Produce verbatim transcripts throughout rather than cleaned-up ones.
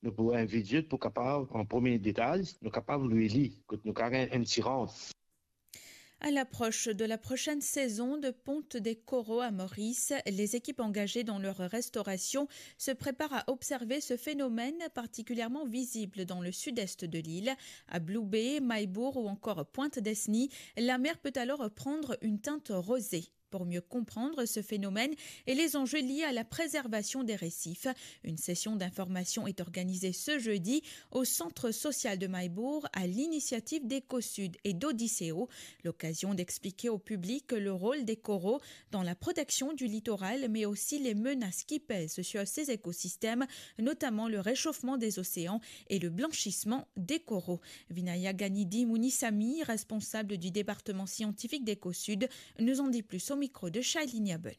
Nou pou invit zot pou kapav, an premie etaz, nou kapav lwe li, kot nou kapav gagn enn ti rant. À l'approche de la prochaine saison de ponte des coraux à Maurice, les équipes engagées dans leur restauration se préparent à observer ce phénomène particulièrement visible dans le sud-est de l'île. À Blue Bay, Mahe Bourg ou encore Pointe-Dessny, la mer peut alors prendre une teinte rosée. Pour mieux comprendre ce phénomène et les enjeux liés à la préservation des récifs, une session d'information est organisée ce jeudi au centre social de Mahe Bourg à l'initiative d'Ecosud et d'Odisseo. L'occasion d'expliquer au public le rôle des coraux dans la protection du littoral, mais aussi les menaces qui pèsent sur ces écosystèmes, notamment le réchauffement des océans et le blanchissement des coraux. Vinaya Ganidi Munisamy, responsable du département scientifique d'Ecosud, nous en dit plus au micro de Shailini Abel.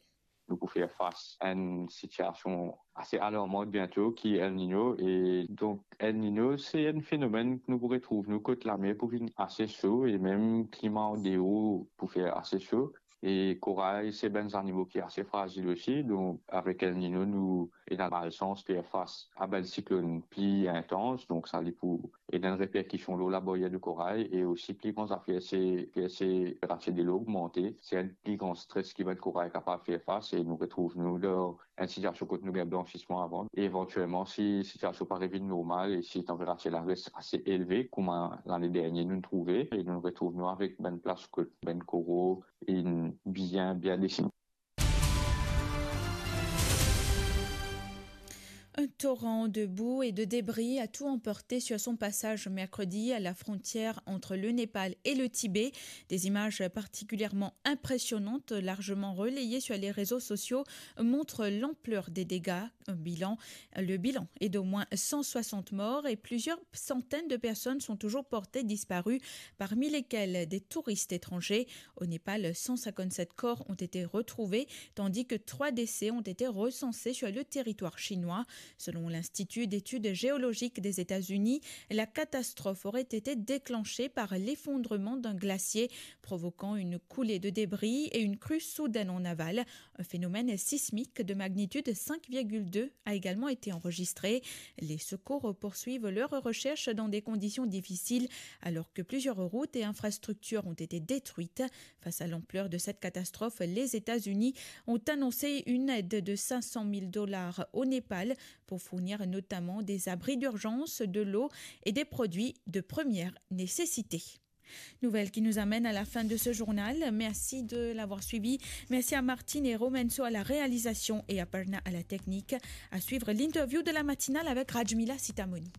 Nou pou fer fas a enn sitiasion ase alarman biento ki El Niño, e donk El Niño se enn fenomenn ki nou pou retrouv nou kot lamer pou vinn ase so e mem klima andeor pou fer ase so. E koray se bann zanimo ki ase frazil osi, donk avek El Niño nou ena malsans fer fas a bann siklonn pli intans, donk sa li pou ena enn reperkision lor labaryer de koray, e osi pli gran zafer se fer se, fer se delo ogmante, se enn pli gran stres ki bann koray kapav fer fas, e nou retrouv nou dan enn sitiasion kot nou gagn blansisman avan. E evantielman, si sitiasion pa revinn normal e si tanperatir la res ase elve, kouma lane dernie nou trouve, e nou retrouv nou avek bann plas kot bann koro inn bien, bien desine. Un torrent de boue et de débris a tout emporté sur son passage mercredi à la frontière entre le Népal et le Tibet. Des images particulièrement impressionnantes, largement relayées sur les réseaux sociaux, montrent l'ampleur des dégâts. Un bilan, le bilan est d'au moins cent soixante morts et plusieurs centaines de personnes sont toujours portées disparues, parmi lesquelles des touristes étrangers. Au Népal, cent cinquante-sept corps ont été retrouvés, tandis que trois décès ont été recensés sur le territoire chinois. Selon l'Institut d'études géologiques des États-Unis, la catastrophe aurait été déclenchée par l'effondrement d'un glacier, provoquant une coulée de débris et une crue soudaine en aval. Un phénomène sismique de magnitude cinq virgule deux a également été enregistré. Les secours poursuivent leurs recherches dans des conditions difficiles, alors que plusieurs routes et infrastructures ont été détruites. Face à l'ampleur de cette catastrophe, les États-Unis ont annoncé une aide de cinq cent mille dollars au Népal pour fournir notamment des abris d'urgence, de l'eau et des produits de première nécessité. Nouvelle qui nous amène à la fin de ce journal. Merci de l'avoir suivi. Merci à Martine et Romenso à la réalisation et à Parna à la technique. À suivre l'interview de la matinale avec Rajmila Sitamoni.